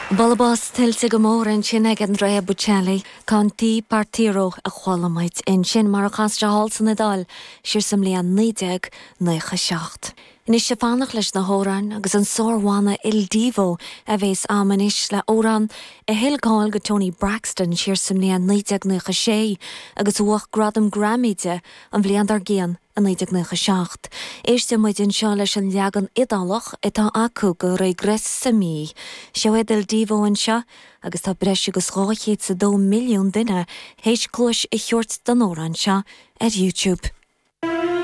Bualadh bos tuillte go mór ansin ag Andrea Bocelli, Con te partirò a chuala muid ansin mar a chas sé thall san Iodáil siar sa mbliain 1997. Anois ag fanacht leis na hamhráin agus an sár-bhanna Il Divo a bhéas a'm anois le amhrán a thuill cáil go Toni Braxton siar sa mbliain 1996 agus a bhuach gradam Grammy di an bhliain dár gcionn i 1997. Éistfidh muid anseo leis an leagan Iodálach atá acu go Regressami. Seo iad Il Divo anseo agus tá breis agus 202 milliún duine théis cluais a thabhairt don amhrán seo ar YouTube.